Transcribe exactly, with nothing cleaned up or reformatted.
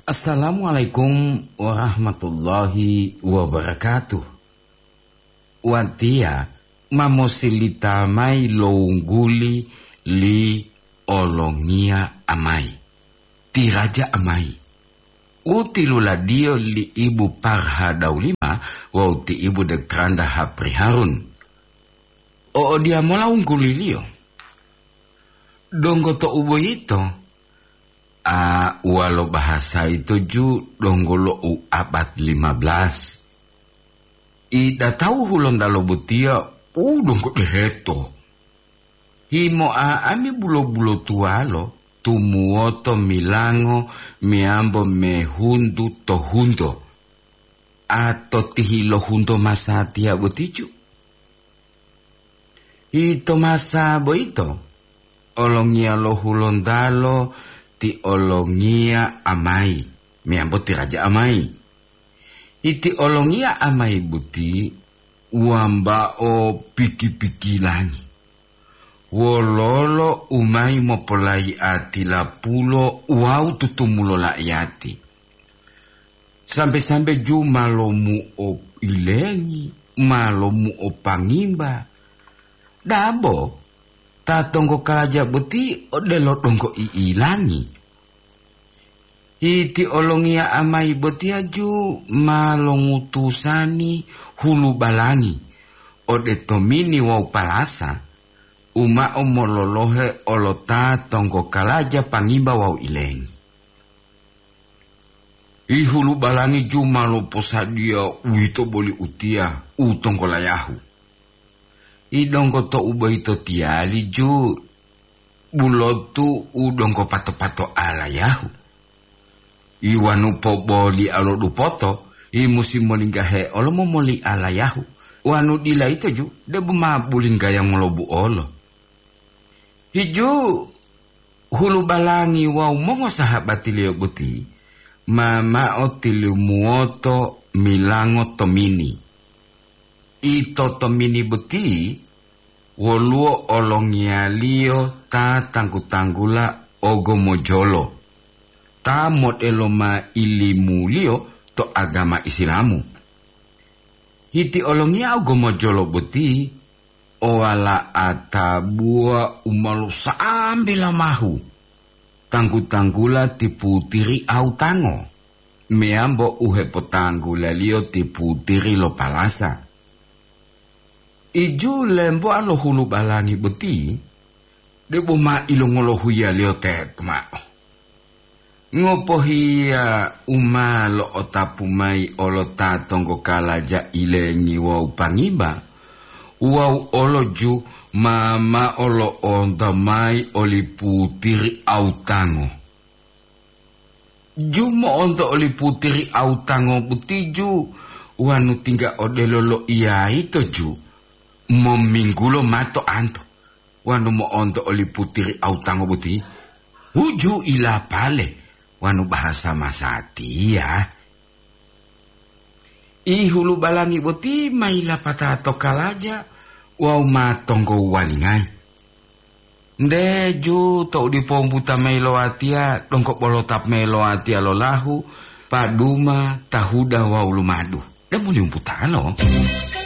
Assalamualaikum warahmatullahi wabarakatuh. Watiya ma mosilita mayi lo wungguli li Olongiya Amayi, ti Raja Amayi, u tiluladiyo li Ibu Parha Daulima wawu ti Ibu Dekranda Hapri Harun. O odiyamola wungguliliyo. Donggo to uboyito, a, walo bahasa ito ju donggo lo u abad lima belas. Ida tawu Hulontalo botiya u donggo deheto. Himoa ami bulo-bulotuwalo tumuwoto milango meyambo mehuntu to hunto, a to tihilo hunto masatiya boticu. Ito masa boyito, olongiya lo Hulontalo ti Olongiya Amayi, meyambo ti Raja Amayi. Iti Olongiya Amayi boti wambao piki-pikilangi. Wololo u mayi mopolayi'ati lapulo wawu tutumulo la'iyati. Sambe-sambe ju ma lomuoilengi, ma lomuopangimba. Dabo, ta tonggokalaja boti odelo donggo i'ilangi. Iti Olongiya Amayi botiya ju ma longutusani hulubalangi ode tomini wawu palasa, u mao mololohe olo ta tonggokalaja pangimba wawu ilengi. Ihulubalangi ju ma loposadiya uwito boli utiya u tonggolayahu. Idonggo to uboyito tiyali ju bulotu u donggo pato-pato alayahu. Iwanu poboli'a lo dupoto, i musi molinggahe olo momoli alayahu. Wanu dila ito ju, debo ma bulinggaya ngolobu olo. Hiju hulubalangi wawu mongosahabatiliyo boti ma mao tilumuwoto milango tomini. Ito tomini boti woluwo olongiyaliyo ta tanggu-tanggula ogomojolo, ta modelo ma ilimuliyo to agama Isilamu. Hiti olongiya ogomojolo boti o wala'a tabuwa u ma losa'ambe lamahu, tanggu-tanggula ti putiri Autango, meyambo u hepotanggulaliyo ti putiri lo palasa. Iju lemboa lo hulubalangi boti, debo ma ilongolohuiyaliyo teto mao. Ngopohiya u ma lo'otapu mayi olo ta tonggokalaja ilengi wawu pangiba, wawu olo ju ma mao lo'onto mayi oli putiri Autango. Ju mo'onto oli putiri Autango boti ju, wanu tingga odelo loiya ito ju, mominggulo mato anto. Wanu mo'onto oli putiri Autango boti, huju ilapale wanu bahasa masatiya. Ihulu balangi boti ma yilapata to kalaja wawu ma tonggo walingayi. Nde ju to'u dipo umbuta mayi lo watiya, donggo bolotap mayi lo watiya lo lahu, paduma, tahuda wawu lumadu. Demu liumputalo.